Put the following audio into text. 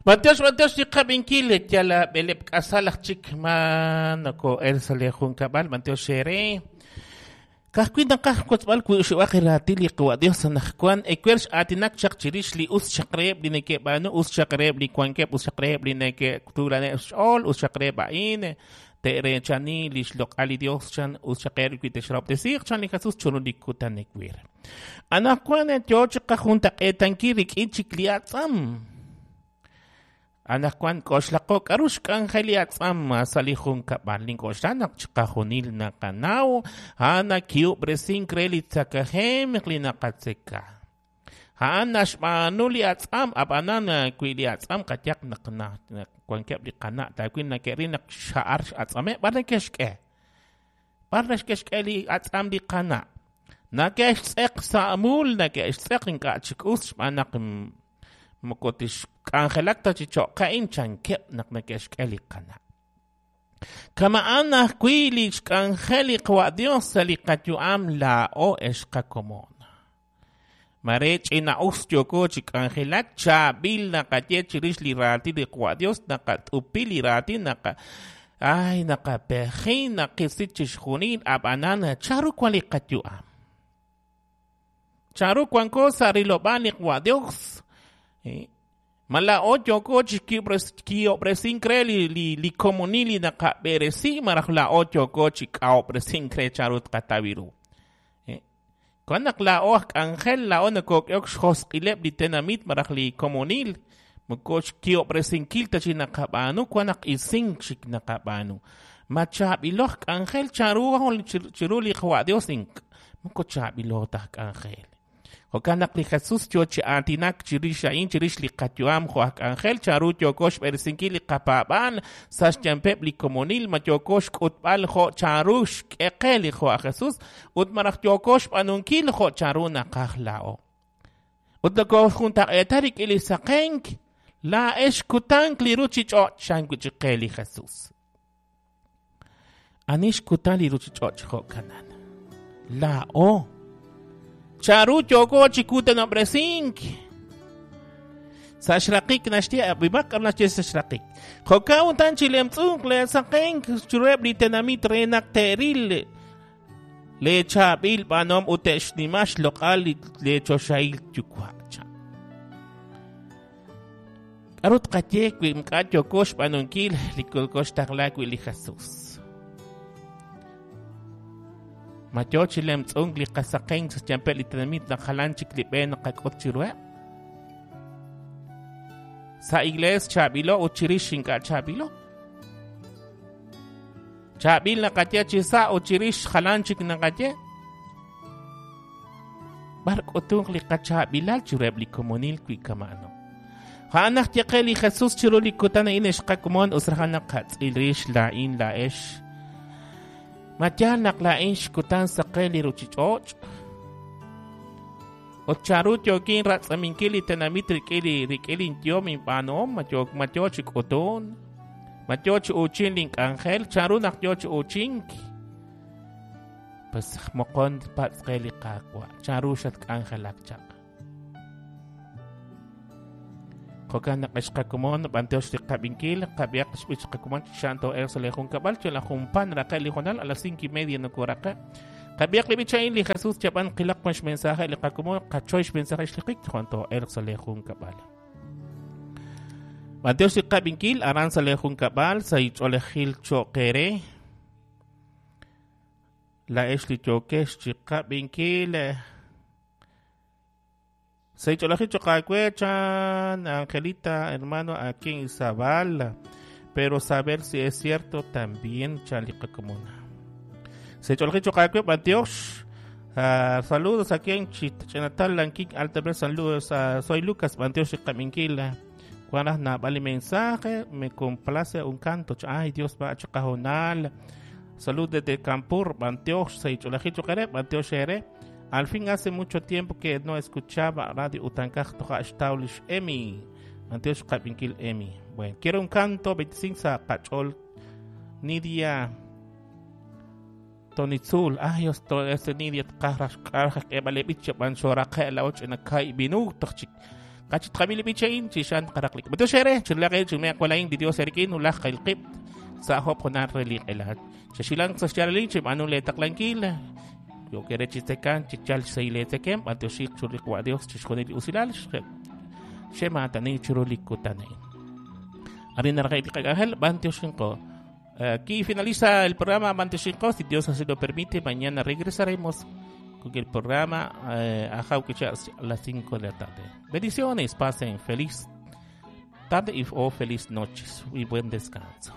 B'antiox, b'antiox li qab'inkil yal b'eleb' k'asal aj chik ma noko'el sa' li junkab'al, b'antiox eere. Ka'ajwi' naqaj wotzb'al wi xub'aq raatin li Qawa' Dios anaqwan ewer x'aatinak chaq chirix li us chaq reheb' li neke'b'aanu, us chaq reheb' li wankeb', us chaq reheb' li neke'tuulaneb' xch'ool, us chaq reheb' a'in te'reechani li xloq'al li Dios chan, us chaq reheb' wi te'xrahob'tesiiq chan li Jesus chiru li kutan ewer. Anaqwan yo chi qajuntaq'eetankil rik'in chik li atz'am. Anaqwan k'oxlaqo k'aru xk'anjel li atz'am sa' li junkab'al. Nink'oxla naq chiqajunil naqanaw a'an nakihub'resink re li tzakahemq li naqatzeka. A'an naxb'aanu li atz'am, ab'anan wi li atz'am qayaq naq wankeb' li qana' taawil neke'ril naq xa'ar x'atz'ameb', b'ar neke'xk'e? B'ar neke'xk'e li atz'am li qana'? Neke'xtz'eq sa' mul, neke'xtz'eq ink'a' chik us xb'aan naq moko tixk'anjelak ta chi cho'qa'in chankeb' naq neke'xk'e li qana'. Kama'an ajwi' li xk'anjel li Qawa' Dios sa' li qayu'am laa'o ex qakomon. Mare ch'ina'us yooko chi k'anjelak, chaab'il naqaye chirix li raatin li Qawa' Dios, naqat'upi li raatin, naqa ay naqapeji, naqisi chixjunil, ab'anan chanru wan li qayu'am? Chanru wanko sa' rilob'aal li Qawa' Dios? Ma laa'o yooko chi kihob'resink re li komonil li naqab'eresi malaj laa'o yooko chi k'ahob'resink re chanru tqataw ru? Wan naq laa'o aj k'anjel, laa'o nokok'ehok xjosq'ileb' li tenamit malaj li komonil, moko xkihob'resinkil ta chi naqab'aanu, wan naq isink chik naqab'aanu. Ma chaab'ilo aj k'anjel chanru chiru li Qawa' Dios? Moko chaab'ilo ta aj k'anjel. Jo'kan naq li Jesus yo chi aatinak chirix a'in, chirix li qayu'am jo' aj k'anjel, chanru yooko xb'eresinkil li qapaab'aal sa' xyanpeb' li komonil, ma yooko xk'utb'al jo' chanru xk'e qe li jo' aj Jesus, ut malaj yooko xb'aanunkil jo' chanru naqaj laa'o. Ut nokooxjuntaq'eeta rik'in li saqenk, laa'ex kutank li ruuchich'och', chan wi' chik qe li Jesus. Ani xkutan li ruuchich'och' chi jo'kanan? Laa'o. Chanru yooko chi kutanob'resink? Sa' xraqik naxye, ab'imaq k'aru naxye sa' xraqik. Jo'kan utan chi lemtz'unq leesaqenk chiruheb' li tenamit re naq te'ril leechaab'il b'aanuhom ut te'xnima xloq'al leechoxahil Yuwa'. K'aru tqaye wi ink'a' yooko xb'aanunkil li koxtaqla wi' li Jesus? Ma yoo chi lemtz'unk li qasaqenk sa' xyanpeb' li tenamit naq jalan chik li b'e naqak'ut chiruheb'? Sa' iglees chaab'ilo ut chirix ink'a' chaab'ilo. Chaab'il naqaye chi sa' ut chirix jalan chik naqaye. B'ar k'utunq li qachaab'ilal chiruheb' li komonil wi kama'ano? A'an naq ye qe li Jesus chiru li kutan a'in ex qakomon us raj naqatz'il rix laa'in laa'ex. Ma yaal naq laa'in xkutan saqe li ruuchich'och'? Ut chanru yookin ratz'aminkil li tenamit rik'in li rik'in linyehom inb'aanuhom? Ma yo ma yo chi k'utun? Ma yo chi uuchink link'anjel? Chanru naq yo chi uuchink? Pues moqon patz' qe li Qaawa', chanru xatk'anjelak chaq? Jo'kan naq ex qakomon, b'antiox li qab'inkil, qab'ihaq xb'ich qakomon chi xa'an too'elq sa' lee junkab'al, yal junpan raqe' li hoonal, a las 5:30 nokoraqe'. Qab'ihaq li b'ich a'in li Jesus chab'an qilaq wan xmensaje li qakomon, qachoy xmensaje xliqik, jo'an too'elq sa' lee junkab'al. B'antiox li qab'inkil aran sa' lee junkab'al, sa' ch'oolejil cho'q eere. Laa'ex li yookex chi qab'inkil. Sa' ch'oolejil cho'q aawe, chan Angelita, hermano aquí en Izabal. Pero saber si es cierto también, chan li qakomon. Sa' ch'oolejil cho'q aawe, b'antiox. Saludos aquí en Chinatal, Lanquín, Alta Saludos, soy Lucas, b'antiox li qab'inkil. Wan raj naab'al li mensaje, me complace un canto. Ay, Dios va chiqajunal. Salud desde Campur, b'antiox, sa' ch'oolejil cho'q eere, b'antiox eere. Al fin hace mucho tiempo que no escuchaba Radio Utankaj toja' xtaw lix Emi. B'antiox qab'inkil Emi. Bueno, quiero un canto 25 sa' qach'ool Nidia Tonitzul. Ay, Dios, to este Nidia tqaj raj xk'araj k'eeb'al li b'ich b'an xoraqe' la och' ch'ina kai' minuto chik. Kachitqab'il b'ichain chixan qaraqlik. Batuxere, chilaqe chumea kwalain di Dios erkin ulaj qailqib sa hop jonar reliqelat. Chashilang sa xyaralin chibanu le taqlankil. Yo kere chitekan chichal seile tekem batushik chuliqwa Dios chixjonil usilal shematani churulikutane. Arin naraqay bantioxinko. Aquí finaliza el programa Bantioxinko. Si Dios así lo permite, mañana regresaremos con el programa Ajau a las 5 de la tarde. Bendiciones, pasen feliz tarde y o feliz noches y buen descanso.